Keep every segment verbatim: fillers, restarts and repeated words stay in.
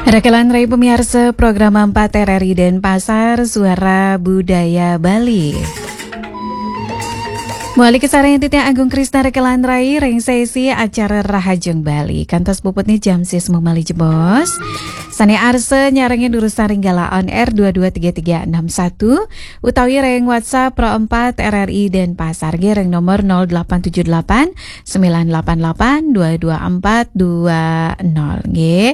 Rekelan Rai pemiarsa program empat R R I Denpasar, Suara Budaya Bali. Mawali kasareng titiang Agung Krisna Rekelan Rai ring sesi acara Rahajeng Bali. Kantos puputnya jam sis mumali jebos. Sane arsa nyarengin urusan ring gala on air dua dua tiga tiga enam satu utawi ring WhatsApp Pro empat R R I Denpasar nggih ring nomor nol delapan tujuh delapan sembilan delapan delapan dua dua empat dua nol nggih.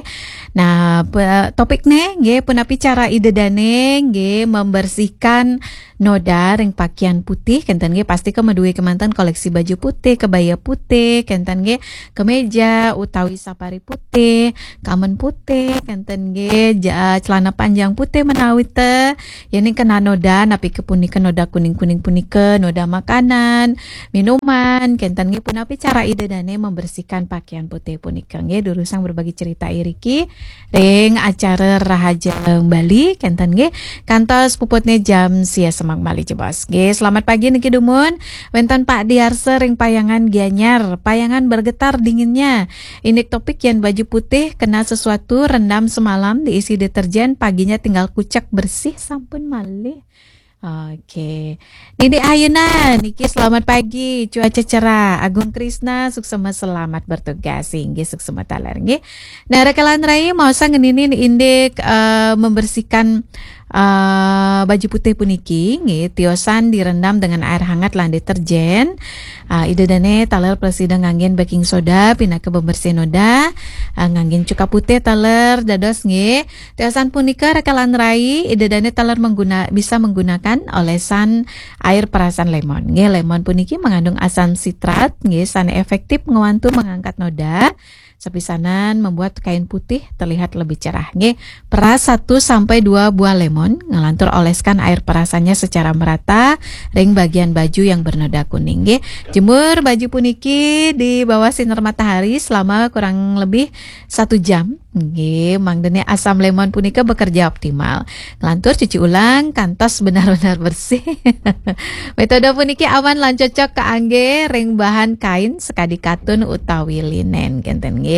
Nah, pe-, topikne nggih punapi cara Ida dane nggih membersihkan noda ring pakaian putih kenten nggih, pasti ke maduwe kemanten koleksi baju putih, kebaya putih kenten nggih, kemeja utawi sapari putih, kamen putih kenten nggih, ja-, celana panjang putih menawi te. Yening kena noda napi ke punika noda kuning-kuning punika, noda makanan, minuman kenten nggih, punapi cara Ida dane membersihkan pakaian putih punika nggih, durusang berbagi cerita iriki ring acara Rahajeng Bali kenten nggih, kantos puputne jam sia semak mali jebos nggih. Selamat pagi niki dumun wenten Pak Diarsa ring Payangan Gianyar. Payangan bergetar dinginnya. Indik topik yen baju putih kena sesuatu, rendam semalam, diisi deterjen, paginya tinggal kucek bersih sampun malih. Oke. Nini Ayuna niki selamat pagi, cuaca cerah. Agung Krisna suksema selamat bertugas. Inggih suksema taler nggih. Nah, Rekelan Rai mau ngeninin indik eh, membersihkan eh, baju putih puniki nggih, tiosan direndam dengan air hangat lan deterjen. Ah, Ida dane taler prasida nganggen baking soda pinaka pembersih noda. Ah, nganggen cuka putih taler dados nggih. Tiosan punika Rekelan Rai, Ida dane taler mengguna-, bisa menggunakan olesan air perasan lemon nggih. Lemon puniki mengandung asam sitrat nggih, sane efektif ngwantu mengangkat noda. Sepisanan membuat kain putih terlihat lebih cerah nggih. Peras satu sampai dua buah lemon, ngelantur oleskan air perasannya secara merata ring bagian baju yang bernoda kuning nggih. Jemur baju puniki di bawah sinar matahari selama kurang lebih satu jam nggih. Mangdene asam lemon punika bekerja optimal. Ngelantur cuci ulang kantos benar-benar bersih. Metode puniki aman lan cocok kaangge ring bahan kain sekadi katun utawi linen kenten nggih.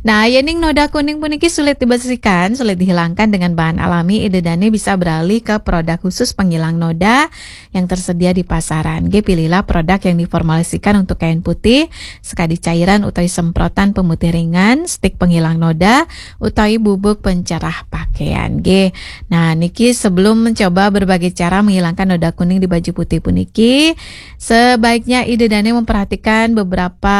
Nah, yening noda kuning puniki sulit dibersihkan, sulit dihilangkan dengan bahan alami, Ida dane bisa beralih ke produk khusus penghilang noda yang tersedia di pasaran. Nggih, pilihlah produk yang diformulasikan untuk kain putih, sekadi cairan utawi semprotan pemutih ringan, stik penghilang noda, utawi bubuk pencerah pakaian. Nggih. Nah, niki sebelum mencoba berbagai cara menghilangkan noda kuning di baju putih puniki, sebaiknya Ida dane memperhatikan beberapa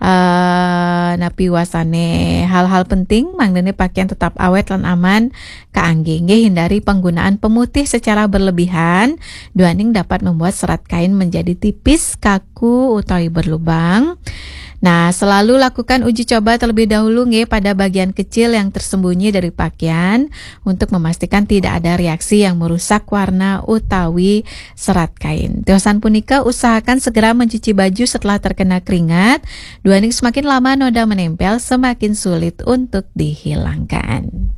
eh, napi wasane hal-hal penting, mangdane pakaian tetap awet lan aman kaangge. Nggih, hindari penggunaan pemutih secara berlebihan, duaning dapat membuat serat kain menjadi tipis, kaku, utawi berlubang. Nah, selalu lakukan uji coba terlebih dahulu nggih pada bagian kecil yang tersembunyi dari pakaian untuk memastikan tidak ada reaksi yang merusak warna utawi serat kain. Tiosan punika usahakan segera mencuci baju setelah terkena keringat. Duaning semakin lama noda menempel, semakin sulit untuk dihilangkan.